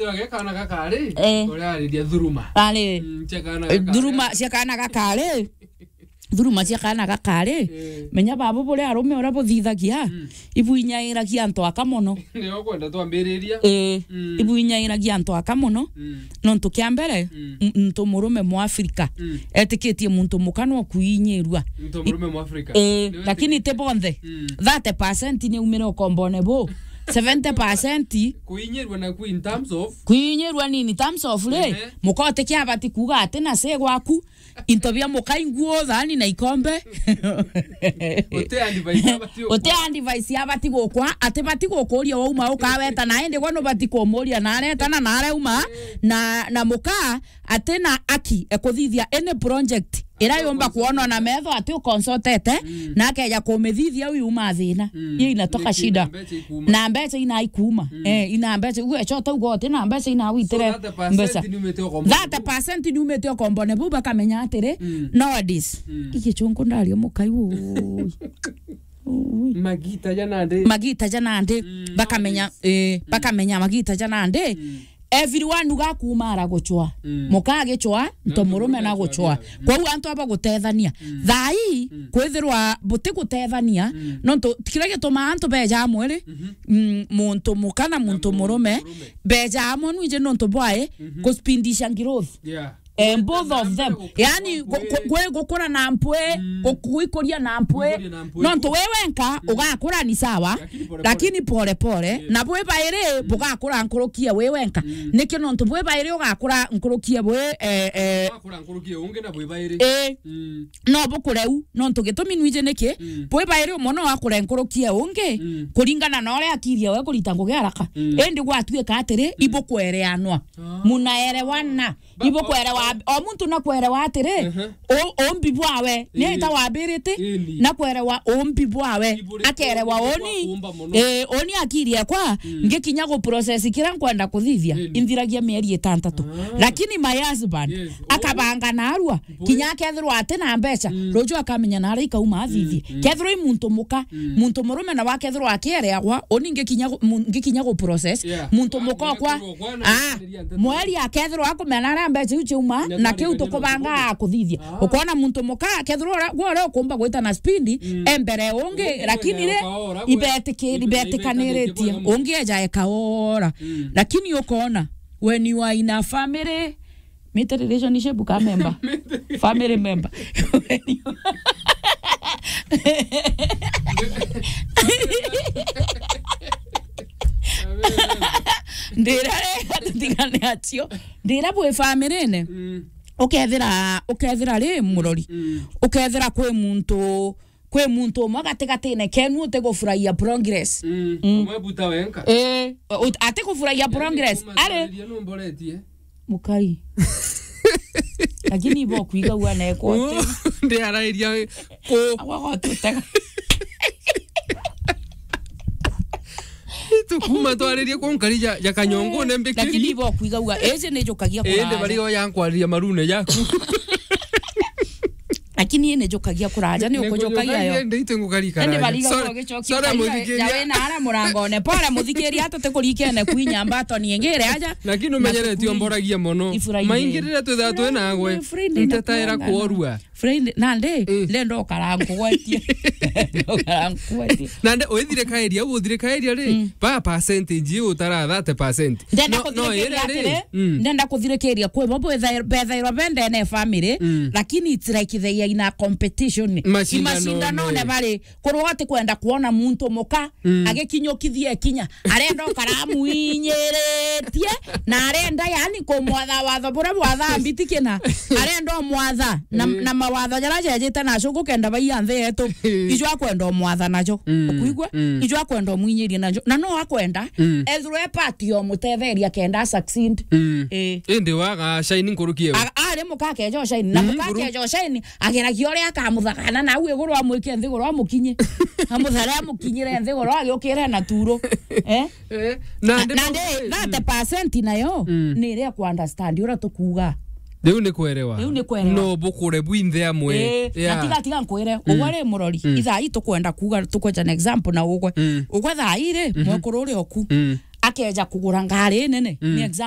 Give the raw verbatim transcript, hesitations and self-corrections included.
Yo, ge kana gakari, eh, uria ariria thuruma. Ari. Mm, cia kana gakari. Thuruma cia kana gakari. Thuruma cia kana gakari. Eh. Menya babu buria arume uria buthithagia, mm, ibwinyairagia antu aka mono. Nio kwenda twambiriria. Eh. Mm. Ibwinyairagia antu aka mono. Mm. Nontu kia mbere, mm, m-, muntu murume Mwafrika, mm, etikitie muntu muka no kuinyirua. Muntu murume Mwafrika. Eh, lakini ti bonthe. Mm. Thirty percent ni umire ukombone bu. Seventy percent. Kuinyirua naku in terms of? Kuinyirua ni in terms of ri, ehe, muka utikia abati kuuga ati na se gwaku, into bia muka, inguo, thani na ikombe. Uti advice abati gukwa. Uti advice abati gukwa, ati bati gukuria wauma ukaweta, na indi gwa nubati kumuria na aretana na areuma, eh, na, na muka ati na aki e kuthithia any project ira yumba kuonwa na metho ati uconsultete, mm, na akeja kumithithia uyu uma thina. Mm. Iyo inatoka shida. Na mbeca ikuma. Na mbeca ina ikuma. Mm. Eh, ina mbeca. Uwe chota ugote na mbeca ina witire. So thirty percent mbeca. Ni umite ukombone bu. Thirty percent ni umite ukombone bu, bakamenya atiri, mm, nowadays. Mm. Iki chungu ndario mukai, ui. Ui. Magita ja nandi. Magita ja nandi. Mm, bakamenya, nowadays, eh, mm, bakamenya magita ja nandi. Mm. Everyone uga kumara guchwa. Mm. Muka agichwa, nto murume na guchwa. Mm. Kwou antu aba gutethania. Mm. Thaa ii, mm, kwithirwa buti gutethania, mm, nontu kiria gitumaa antu beja amwe ri, mhm, mm, muntu muka na muntu murume, murume, beja amwe nwiji nontu bwae, mhm, kuspindisha growth. Yeah. Eh, both of them. Gukura na mpwi. Yani, gu-, gu-, gukura na mpwi, mm, gu-, gwikuria na mpwi. Gwikuria na mpwi. Nontu we wenka, mm, ugakura ni sawa, lakini pole pole. Lakini pole pole, yes, na bwi bairi, mm, bugakura nkurukie we wenka. Mm. Niki nontu bwi bairi ugakura nkurukie bwi, eh, eh, ugakura nkurukie ungi na bwi bairi. Eh. Mm. No bukure u, nontu gitumi nwiji niki, mm, bwi bairi umwe no akure nkurukie ungi, mm, kuringana na uria akiria we kurita ngugi haraka. Mm. Indi gwatuika atiri, mm, ibukwereanwa. Ah. Munaerewana. Ba-, ibukwerewa, o, o muntu na kwerewa atiri, mhm, o-, umbi bwawe, ni, ii, ita wambirite, ii, ni, na kwerewa umbi bwawe, iburi-, akerewa umbi bwa uni, kuumba mono. Eh, uni akiri ekwa, mm, ngikinya gu process kira nkwenda kuthithia, ii, inthiragia mieri itantatu. Ah. Lakini my husband, yes, akabanga narua, kinya akethirwa ati na mbeca, mm, ruju akamenya nari ikauma athithie. Mm, mm. Kethirwa i muntu muka, mm, muntu murume nawe akethirwa akiereagwa, uni ngikinya gu-, mu-, ngikinya gu process, yeah, muntu muka okwa, ah, mweri akethirwa akumenya naria mbeca iu ciauma, na kiu tukubanga kuthithia. Ah. Ukona muntu muka, akethirwa ura-, gwe uria ukumba gwita na speed, mm, e mbere ungi, lakini ri, ibetikiri-, ibetikaniritie. Ungi eja ekaora. Mm. Lakini ukona, when you are in a family, mete relationship ka member. Family member. Ndira rega tutigane acio. Ndira bwi family-ine. Mm. Ukethira, ukethira ri murori. Mm. Ukethira kwi muntu, kwi muntu umwe gatigatine kenu utigufurahia progress. Mm. Mm. Umwe buta wenka. Eh, ut-, atigufurahia progress. Ari. Numboretie. Mukai. Lakini ibo kwigagua na ekwa ati. Ndi arairia ku. Agwa gotutega. Tukuma twaririe ku nkari ja, ja kanyongo ne mbikiri. Lakini ibo kwigagua, eje ni jukagia kuraja. Ende bari o ya nkwariria marune jaku. Lakini ni jukagia kuraja, ni ukujukagia yo. Ende ite ngukarikara. Ende bari ga ugicokia. Sorry, muthikiri. Jawe na ara murangone. Pole muthikiri, atu te kurikene kwinya mbato ni ngire aja. Lakini umenyere ti omboragia mono. Ifurahie. Maingi riria twithaga twi nagwe, ntetaira kuorua. Friend, nandi, eh, ndenda ukara nkugwetie. Ndenda ukara nkugwetie. Nandi, withirikairia, u uthirikairia ri, mm, ba percentage iu utara thirty percent. Ndenda no, kuthirikiria iri ri, atiri, mm, ndenda kuthirikiria kwi bo bethairwa bendene family, mm, lakini it's like they are in a competition. Macindanone. Imacindanone bari, Korwo ati kwenda kwona muntu muka, mm, agikinyukithia ikinya, arenda ukaramuinyiritie, na arenda, yani, kumwatha watho buria bwatha mbitikina. Arenda umwatha na, eh, na mawatho jaria jejite nacio gukenda baiya nthi yetu. Eh. Ijo akwenda umwatha najo. Mm. Ukuigua? Mm. Ijo akwenda umwinyirie najo. Na no akwenda, mm, ethirwe e part ya umutetheria kenda a succeed. Mm. Eh. Indi waga shine nkuruki ewe. A-, ari muka akeja ushine. Na, mm, muka akeja ushine, ageragia uria akamuthagana nau iguru, amwike nthiguru, amukinye. Amuthare, amukinyire nthiguru, agiukire na turu. Eh? Eh, na, na ndi, na ndi, thirty percent nayo, mm, ni iria ku understand uria tukuuga. Riu ni kwerewa. Riu ni kwerewa. No bukure bwinthe amwe. Eh, yeah. Na tiga, tiga nkwire, mm, ugwe ri murori, mm, ithaa ii tukwenda kuuga, tukweja an example na ugwe. Mm. Ugwe thaa ii ri, mhm, mwekuru uria oku. Mm. akeja kugura ngari nene, mm, ni example.